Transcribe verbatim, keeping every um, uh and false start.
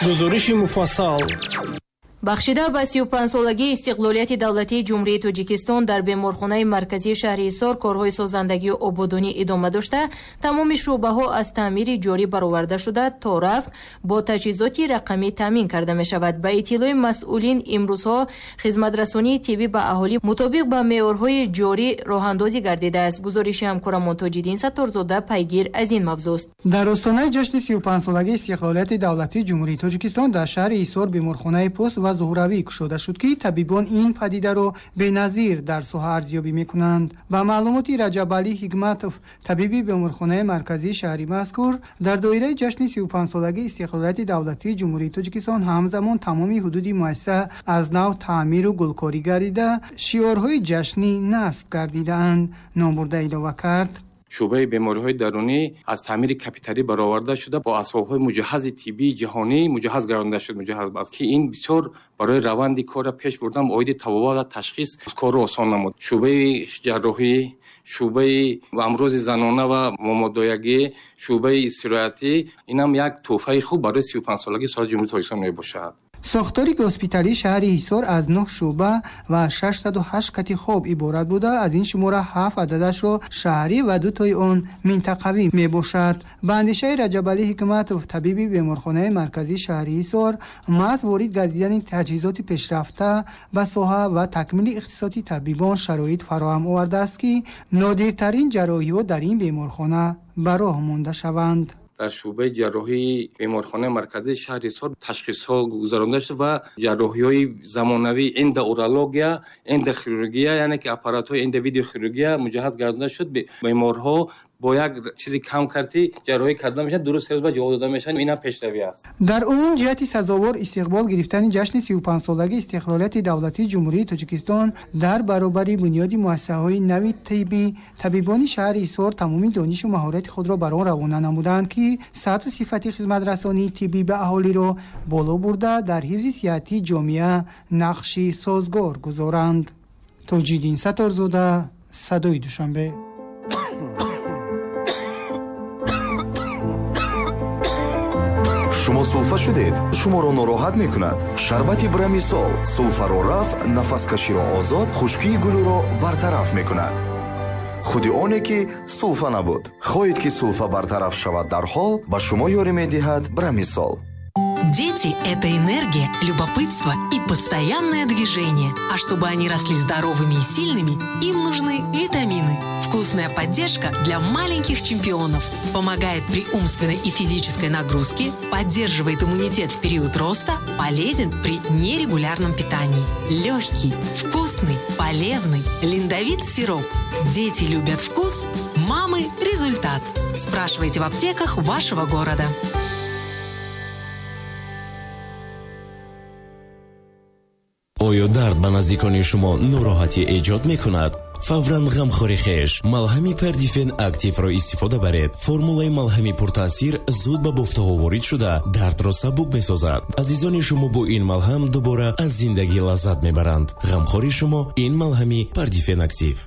Гузориши муфассал. Бахшида ба сию панҷсолагии истиқлолияти давлатии Ҷумҳурии Тоҷикистон дар беморхонаи марказии шаҳри Ҳисор корҳои созандагию ободонӣ идома дошта, тамоми шӯъбаҳо аз таъмири ҷорӣ бароварда шуда, то рафт бо таҷҳизоти рақамӣ таъмин карда мешавад. Ба иттилои масъулин, имрӯзҳо хизматрасонии тиббӣ ба аҳолӣ мутобиқ ба меъёрҳои ҷорӣ роҳандозӣ гардидааст. Гузориши ҳамкорамон Тоҷиддин Сатторзода пайгир аз ин мавзӯст. Дар остонаи ҷашни сию панҷсолагии истиқлолияти давлатии Ҷумҳурии Тоҷикистон дар шаҳри Ҳисор беморхонаи пӯст ва зуҳуравӣ кушода шуд, ки табибон ин падидаро беназир дар соҳа арзёбӣ мекунанд. Ба маълумоти Раҷабалӣ Ҳикматов, табиби беморхонаи марказии шаҳри мазкур, дар доираи ҷашни сию панҷсолагии истиқлолияти давлатии Ҷумҳурии Тоҷикистон ҳамзамон тамоми ҳудуди муассиса аз нав таъмиру гулкорӣ гардида, шиорҳои ҷашнӣ насб гардидаанд. Номбурда илова кард: шӯъбаи бемориҳои дарунӣ аз таъмири капиталӣ бароварда шуда, бо асбобҳои муҷаҳҳази тиббии ҷаҳонӣ муҷаҳҳаз гардонда шуд. Муҷаҳҳаз аст, ки ин бисёр барои раванди корро пеш бурдан оиди табобат ва ташхис корро осон намуд. Шӯъбаи ҷарроҳӣ, шӯъбаи амрози занона ва момодоягӣ, шӯъбаи истироҳатӣ, инам як тӯҳфаи хуб барои сию панҷсолагии соли Ҷумҳурии Тоҷикистон мебошад. Сохтори госпиталии шаҳри Ҳисор аз нӯҳ шӯъба ва шашсаду ҳашт кати хоб иборат буда, аз ин шумора ҳафт ададашро шаҳрӣ ва дутои он минтақавӣ мебошад. Ба андешаи Раҷабалӣ Ҳикматов, табиби беморхонаи марказии шаҳри Ҳисор, маҳз ворид гардидани таҷҳизоти пешрафта ба соҳа ва такмили ихтисоси табибон шароит фароҳам овардааст, ки нодиртарин ҷарроҳиҳо дар ин беморхона ба роҳ монда шаванд. Дар шӯъбаи ҷарроҳии беморхонаи марказии шаҳри Ҳисор ташхисҳо гузаронда шуд ва ҷарроҳиҳои замонавӣ эндоурология, эндохирургия, яъне ки аппаратҳои эндовидеохирургия муҷаҳҳаз гардонда шуд. Беморҳо бо як чизи кам кардӣ ҷарроҳӣ карда мешаванд, дуруст серӯз ба ҷавоб дода мешаванд. Инам пешравӣ аст. Дар умум ҷиҳати сазовор истиқбол гирифтани ҷашни сию панҷсолагии истиқлолияти давлатии Ҷумҳурии Тоҷикистон дар баробари бунёди муассисаҳои нави тиббӣ, табибони шаҳри Ҳисор тамоми донишу маҳорати худро бар он равона намуданд, ки сатҳу сифати хизматрасонии тиббӣ ба аҳолиро боло бурда, дар ҳифзи сиҳатии ҷомеа нақши созгор гузоранд. Тоҷиддин Сатторзода, Садои Душанбе. Шумо сулфа шудед, шуморо нороҳат мекунад. Шарбати Брамисол сулфаро рафъ, нафаскаширо озод, хушкии гулӯро бартараф мекунад. Худи оне ки сулфа набуд. Хоҳед ки сулфа бартараф шавад дарҳол, ба шумо ёрӣ медиҳад Брамисол. Дети – это энергия, любопытство и постоянное движение. А чтобы они росли здоровыми и сильными, им нужны витамины. Вкусная поддержка для маленьких чемпионов. Помогает при умственной и физической нагрузке, поддерживает иммунитет в период роста, полезен при нерегулярном питании. Легкий, вкусный, полезный Линдовит сироп. Дети любят вкус, мамы – результат. Спрашивайте в аптеках вашего города. Оё дард ба наздикони шумо нороҳатӣ эҷод мекунад? Фавран ғамхори хеш малҳами Пердифен Активро истифода баред. Формулаи малҳами пуртаъсир зуд ба бофтаҳо ворид шуда, дардро сабук месозад. Азизони шумо бо ин малҳам дубора аз зиндагӣ лаззат мебаранд. Ғамхори шумо ин малҳами Пердифен Актив.